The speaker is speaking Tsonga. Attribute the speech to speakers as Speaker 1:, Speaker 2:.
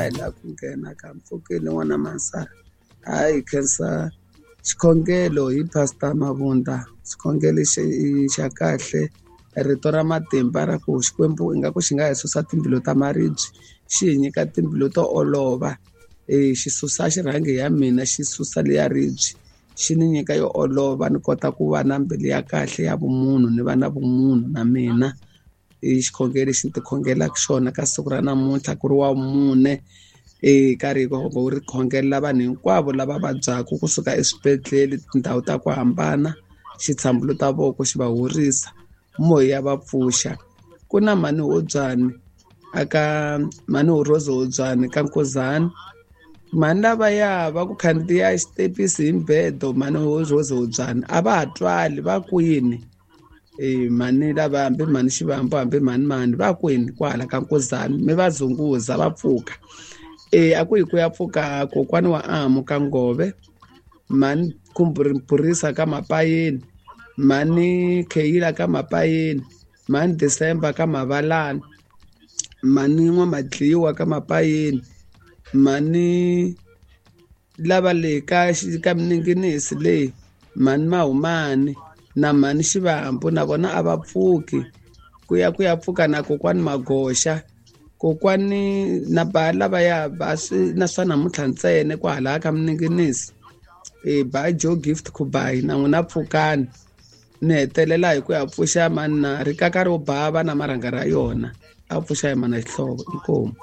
Speaker 1: hi lava ku nghena ka mpfukeni n'wana Mansana. Hayi khensa xikhongelo hi Pastor Mabunda xikhongelo xa kahle rito ra matimba ra ku Xikwembu ingaku xi nga hi susa timbilu ta maribye xi hi nyika timbilu to olova e xi susa xirhangi ya mina xi susa leya ribye xi ni nyika yo olova ni kota ku va na mbilu ya kahle ya vumunhu ni va na vumunhu na mina. I xikhongelo lexi ni ti khongelaka xona ka siku ra namuntlha ku ri wa mune e karhi wu ri khongelela vanhu hinkwavo lava vabyaka kusuka eswibedhlele tindhawu ta ku hambana xi tshambuluta voko xi va horisa moya ya va pfuxa. Ku na mhani Hobyani aka mhani Rose Hobyani ka Nkuzana mhani lavaya va ku khandziya xitepisi hi mbedo mhani Rose Hobyani a va ha twali va kwini. E mhani lava hambi mhani Xivambu hambi mhani mani va kwini kwahala ka Nkuzana mi va zunguza va pfuka. E a ku yi ku ya pfuka kokwani wa Amu ka Ngove mhani Burisa ka Mapayeni mhani Kheyila ka Mapayeni mhani December ka Mavalani mhani N'wamadliwa ka Mapayeni mhani lava le ka ka Mininginisi leyi mhani Mahumani na mhani Xivambu na vona a va pfuki ku ya ku ya pfuka na kokwani Magoxa kokwani na ba lavaya ba swi na swa namuntlha ntsena kwahala ka Mininginisi e ba Joe Gift Kubayi na n'wina pfukani ni hetelela hi ku ya pfuxa mani na rikaka ro bava na marhanga ra yona a pfuxa hi mana Xihlovo inkomu.